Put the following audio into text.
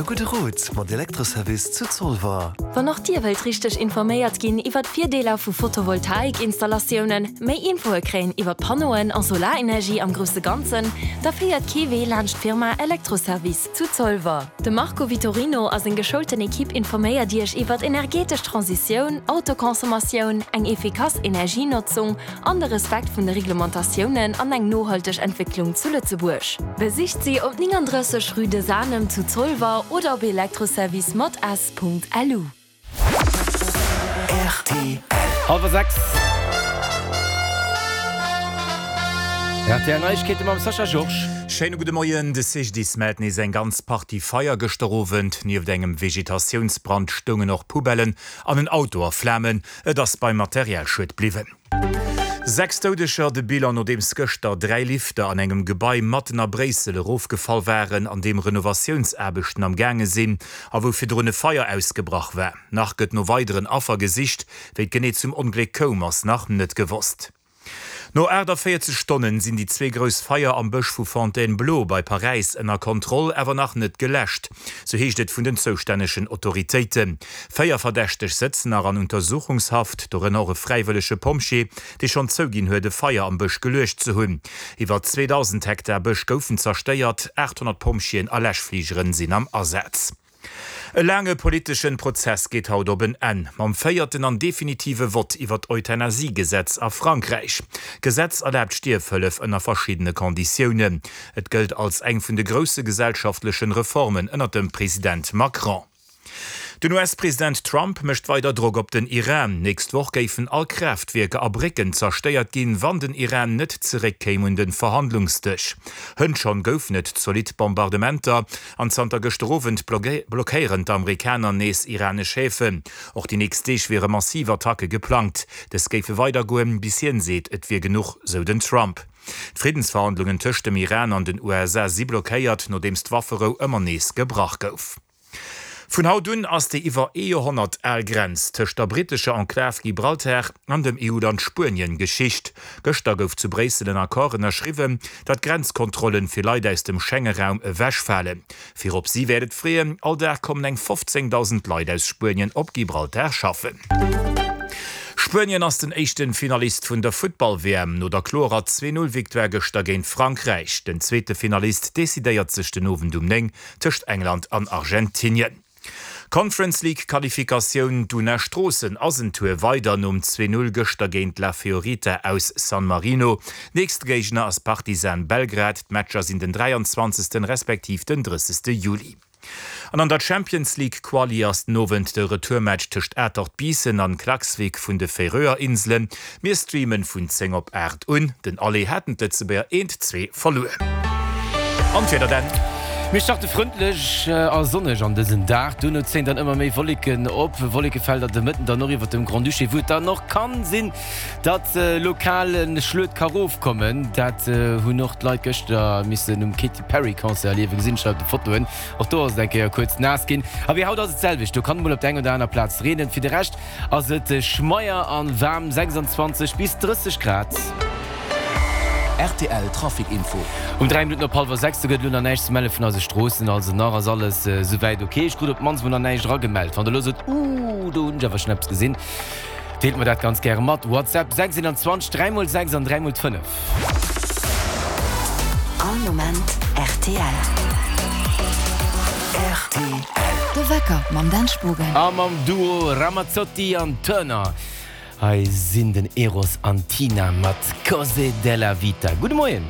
gudde Rot mat Elektroservice zu Zolwer. Wann och Dir wëllt richteg informéiert ginn iwwert d'Virdeeler vu Photovoltaikinstallatiounen, méi Infoe kréien iwwert Panneauen a Solarenergie am grousse Ganzen, da féiert kee Wee laanscht d'Firma Elektroservice zu Zolwer. De Marco Vitorino a seng geschoulten Equipe informéiert Iech iwwert energetesch Transitioun, Autoconsommatioun, eng efficace Energienotzung an de Respekt vun de Reglementatiounen an eng nohalteg Entwécklung zu Lëtzebuerg. Besicht si op 39 Rue de Sanem zu Zolwer oder op elektroservice mat s.lu. Rtl. Hallwer 6. Rtl Neiegkeete mam Sascha Georges. Schéine gudde Moien. De CGDIS mellt nees eng ganz Partie Feier gëschter Owend. Nieft engem Vegetatiounsbrand stoungen och Poubellen an en Auto a Flamen. Et ass beim Materialschued bliwwen. 6 Doudeger, de Bilan nodeems gëschter 3 Lifter an engem Gebai matten a Bréissel erofgefall waren, an deem Renovatiounsaarbechten am gaange sinn a wou virdrun e Feier ausgebrach war. Nach gëtt no weideren Affer gesicht. Wéi et genee zum Ongléck koum, ass nach net gewosst. No 48 Stonnen sinn déi zwee grouss Feier am Bësch vu Fontainebleau bei Paräis ënner Kontroll, awer nach net geläscht, sou heescht et vun den zoustännegen Autoritéiten. Véier Verdächteg sëtzen nach an Untersuchungshaft, dorënner och e fräiwëllege Pompjee, dee schonn zouginn huet, e Feier am Bësch geluecht ze hunn. Iwwer 2.000 Hektar Bësch goufen zerstéiert, 800 Pompjeeën a Läschfligeren sinn am Asaz. E laange politeschen Prozess geet haut op en Enn, mam véierten an definitive Vott iwwer d'Euthanasie-Gesetz a Frankräich. D'Gesetz erlaabt Stierfhëllef ënner verschiddene Konditiounen. Et gëllt als eng vun de grousse gesellschaftlechen Reformen ënner dem President Macron. Den US-President Trump mécht weider Drock op den Iran. Nächst Woch géifen all Kraaftwierker a Brécken zerstéiert ginn, wann den Iran net zeréckkéim un den Verhandlungsdësch. Hënt schonn goufen et zolidd Bombardementer. An zanter gëschter Owend blockéieren d'Amerikaner nees iranesch Häfen. Och déi nächst Deeg wiere massiv Attacke geplangt. Dës géife weidergoen, bis hien seet, et wier genuch, sou den Trump. D'Friddensverhandlungen tëscht dem Iran an den USA si blockéiert, nodeems d'Wafferou ëmmer nees gebrach gouf. Vun haut un ass déi iwwer ee Joerhonnert al Grenz tëscht der brittescher Enklav Gibraltar an dem EU-Land Spuenien Geschicht. Gëschter gouf zu Bréissel en Accord ënnerschriwwen, datt Grenzkontrollen fir Leit aus dem Schenge-Raum ewechfalen. Virop si wäert et freeën, all Dag kommen eng 15.000 Leit aus Spuenien op Gibraltar schaffen. Spuenien ass den éischten Finalist vun der Futtball-WM no der klorer 2 Null Victoire gëschter géint Frankräich. Den zweete Finalist decidéiert sech den Owend um 9 tëscht England an Argentinien. Conference League Qualifikatioun, D'Una Stroossen ass en Tour weider nom 2, 0 gëschter géint La Fiorita aus San Marino. Nächste Géigner ass Partizan Belgrad. D'Matcher sinn den 23. Respektiv den 30. Juli. An an der Champions League Quali ass den Owend de Retourmatch tëscht Atert Biissen an Klaksvik vun de Färöer Inselen. Mir streamen vun 10 op 8 un. Den Aller haten d'Lëtzebuerger 1, 2 verluer. An d'Wieder dann? Mir starte frëndlech a sonneg an dësen Dag, duerno zéien dann ëmmer méi Wolleken op, Wollekefelder de Mëtten dann och iwwert dem Grand-Duché, wou et dann och kann sinn, datt lokal e Schluet ka rofkommen. Dat hunn och d'Leit gëschter missen um Katy Perry Concert erliewen, gesinn ech hei op de Fotoen. Och do ass et eng Kéier kuerz naass ginn. A wéi haut ass et d'selwecht, do kann et mol op der eng oder aner Plaz reenen. Fir de Rescht Ass et schmeier an waarm, 26 bis 30 Grad. Rtl Trafic Info. Um 3 Minutten op hallwer 6, do gëtt elo nach näischt ze melle vun eise Stroossen, also nach ass alles souwäit ok. Ech krut op d'mannst mol nach näischt eragemellt. Wann der elo sot, Ooh, do hunn ech awer schonn eppes gesinn, deelt mer dat ganz gäre mat. WhatsApp 6 21 3 mol 6 an 3 mol d'Fënnef. All Moment rtl. Rtl. De Wecker mam Dan Spogen. A mam Duo Ramazzotti an Turner. Hei sinn den Eros an Tina mat Cose della Vita. Gudde Moien.